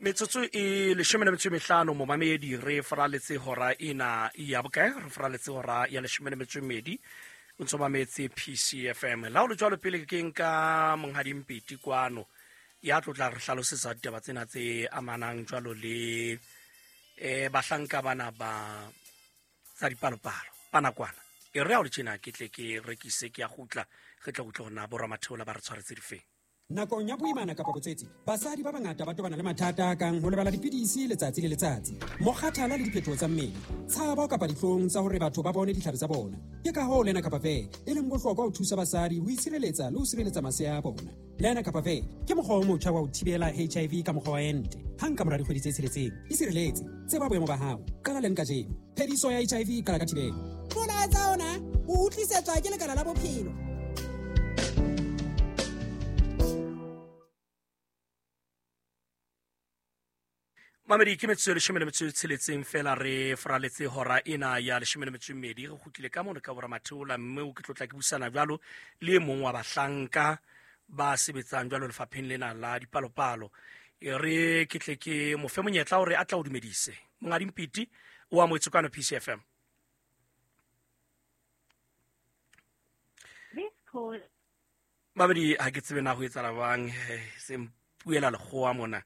Metsotso e 15 momamedi, re faraletse hora ena ya bokae? Re faraletse hora ya 12. O ntso mametse PCFM. La ho le jwalo, pele ke nka Monghadi Mpeti kwano ya tlotla re hlalosetsa ditaba tsena tse amanang jwalo le bahlanka bana ba tsa dipalopalo ba nakwana. E re ha o le tjena, ke tle ke rekise, ke ya kgutla, re tle utlwe hore na boramatheola ba re tshwaretse difeng. Nakong ya boimana kapa botswetse, basadi ba bangata ba tobana le mathata a kang ho lebala dipidisi letsatsi le letsatsi, mokgathala le diphetoho tsa mmele, tshabo kapa dihlong tsa hore batho ba bone ditlhare tsa bona. Ke ka hoo Lena Kapa Ve e leng bohlokwa ho thusa basadi ho itshireletsa le ho sireletsa masea a bona. Lena Kapa Ve ke mokgwa o motjha wa ho thibela HIV ka mokgwa wa ente. Hang ka mora dikgwedi tse 6, isireletse, tseba boemo ba hao, qala leng kajeno. Phediso ya HIV e qala ka thibelo. Molaetsa ona o utlwisetswa ke Lekala la Bophelo. Mamedi, ke metsotso e 16 fela re faraletse hora ena ya 12. Re kgutlile ka mono ka boramatheola, mme o ke tlotla ke busana jwalo le e mong wa bahlanka ba sebetsang jwalo lefapheng lena la dipalopalo. E re ke tle ke mo fe monyetla hore a tla o dumedise. Monghadi Mpiti, o amohetswe kwano PCFM. Mamedi, ha ke tsebe na ho etsahala jwang, se mpuela lekgowa mona.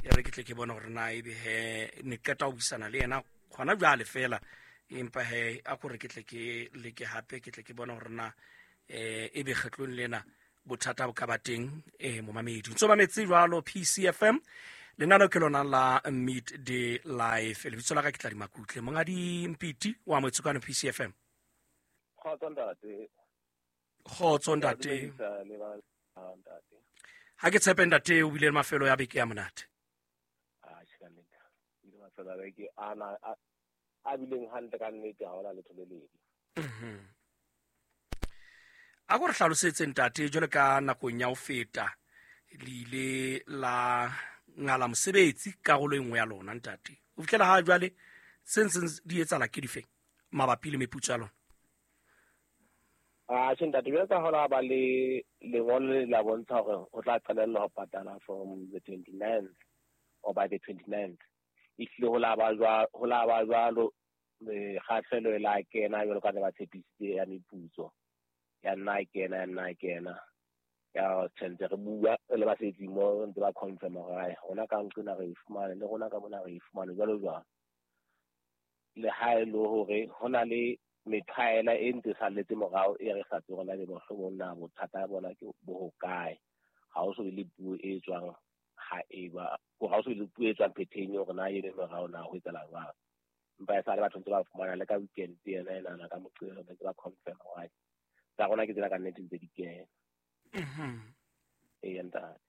E re ke tle ke bone hore na ebe he ne qeta ho buisana le yena gona jwale fela, empa he a kore ke tle ke leke hape, ke tle ke bone hore na ebe kgetlong lena bothata bo ka ba teng. Momamedi, ntso mametse jwalo PCFM, lenaneo ke lona la Midday Life. Lebitso la ka ke tla Dimakutle. Monghadi Mpiti, o amohetswe kwano PCFM. Kgotso ntate. Kgotso ntate. Ha ke tshepe ntate o bile le mafelo ya beke ya monate. Mafelo a beke ana a bileng hantle ka nnete, ha hona letho le lebe. A ko re hlalosetse ntate, jwalo ka nakong ya ho feta le ile la ngala mosebetsi karolo e nngwe ya lona ntate, ho fihlela ha jwale se ntseng di etsahala ke difeng mabapi le meputso ya lona? A tjhe ntate, jwalo ka hola ba le lengolo le la bontsha hore ho tla qalella ho patala from the 29th or by the 29th. Ehlile ho la ba jwa, ho la ba jwalo, mekgahlelo e la kena jwalo ka ne ba tshepisitse ya meputso. Ya nna kena, ya nna kena. Ya tshwanetse re bua re le basebetsi mo ntse ba confirm hore ai rona ka nqena re e fumane, le rona ka mona re e fumane jwalo jwalo. Le ha e le hore ho na le methwaela e ntse salletse morao e re sa tsebeng na mohlomong na bothata bona ke bo hokae. Ha ho so be le puo e tswang ha e ba, ha ho so be le puo e tswang phetheng hore na e be morao na ho etsahala jwang. Empa e sale batho ntse ba fumana le ka weekend ena e nana ka Moqebelo ntse ba confirm hore tsa rona ke tsena ka nnete ntse di kena. Ee, ntate.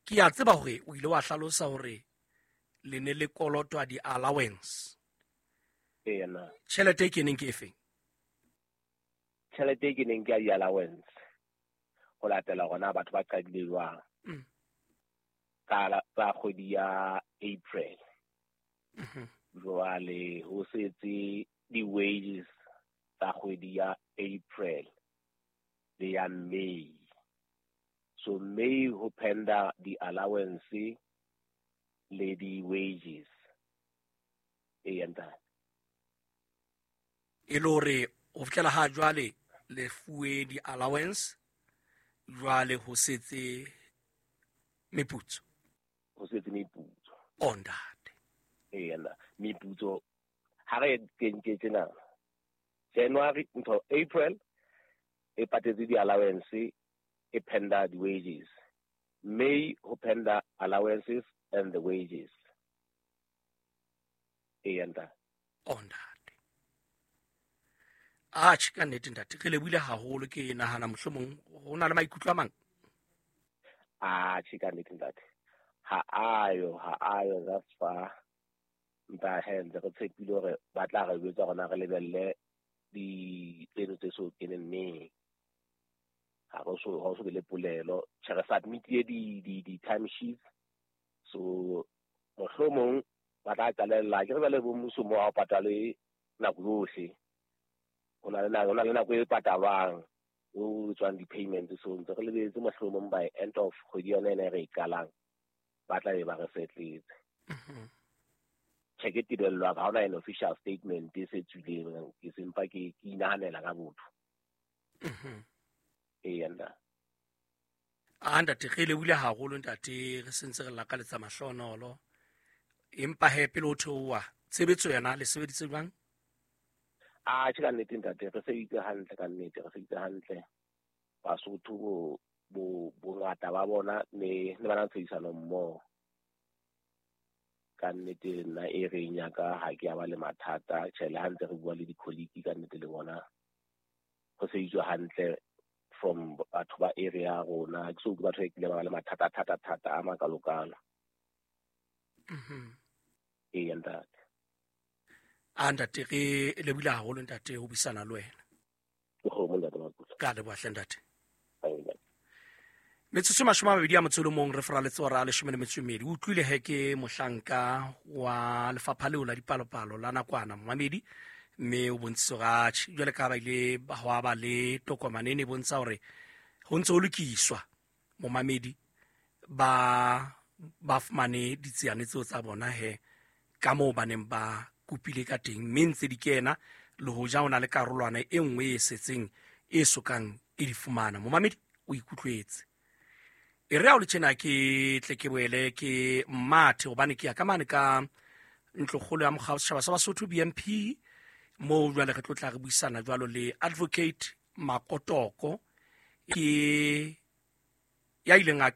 Ke a tseba hore o ile wa hlalosa hore le ne le kolotwa di-allowance. Ee, na. Tjhelete e keneng ke efeng? Tjhelete e keneng ke ya di-allowance ho latela hore na batho ba qadile jwang. Ka kgwedi ya April. Jwale ho setse di-wages tsa kgwedi ya April le ya May. So May ho penda di-allowance le di-wages. Ee, ntate. E le hore ho fihlela ha jwale le fuwe di-allowance, jwale ho setse meputso. Ho setse meputso. Oh, ntate. Ee, nna meputso ha re kenke tjena January ntho April e patetse di-allowance, e penda di-wages. May ho penda allowances and the wages. Ee, ntate. Oh, ntate. Atjhe, ka nnete ntate, re lebohile haholo. Ke nahana mohlomong ho na le maikutlo a mang. Atjhe, ka nnete ntate. Ha ayo, ha ayo thus far. Empa he ntse re tshepile hore ba tla re jwetsa hore na re lebelle di tseno tse so keneng neng. Ha re so, ha ho so be le polelo. Tjhe, re submit-ile di time sheets. So mohlomong ba tla qalella, ke re jwale bo mmuso mo ha o patale nako yohle. Ho na le nako, ho na le nako e patalwang. O tswang di-payment, so ntse re lebeletse mohlomong by end of kgwedi yona ena e re e qalang, ba tla be ba re setletse. Tjhe, ke tebello ya ka, ha hona an official statement e se tswileng, ke sempa ke inahanela ka botho. Eya ntate. A ntate, re lebohile haholo ntate, re sentse re lakaletsa mahlonolo. Empa he, pele o theoha, tshebetso yona le sebeditse jwang? A tjhe, ka nnete ntate, re sebeditse hantle, ka nnete re sebeditse hantle. Basotho bo bongata ba bona ne ba na le tshebedisano mmoho. Ka nnete nna e reng ya ka ha ke ya ba le mathata. Tjhe, le ha ntse re bua le di-colleague, ka nnete le bona ho sebeditswe hantle from batho ba area ya rona. Ha ke so utlwe batho ba kileng ba ba le mathata thata thata a makalokalo. Eya ntate. A ntate, re lebohile haholo ntate ho buisana le wena. Ke kgomo ntate Makusa. Ka leboha hle ntate. Amen. Metsotso 21 re foraletse hora 12. O utlwile he ke mohlanka wa lefapha leo la dipalopalo la nakwana momamedi, mme o bontshitse hore atjhe, jwale ka ba ile ba hwa ba le tokomane e ne e bontsha hore ho ntse ho lokiswa momamedi, ba fumane ditsiane tseo tsa bona he ka moo ba neng ba kopile ka teng, mme ntse di kena le hoja ho na le karolwana e nngwe e setseng e sokang e di fumana. Momamedi o ikutlwetse. E re ha o le tjena ke tle ke boele ke mathe, hobane ke ya ka mane ka ntlokgolo ya mokga wa setjhaba sa Basotho BNP, moo jwale re tlo tla re buisana jwalo le Advocate Makotoko, ke ya ileng a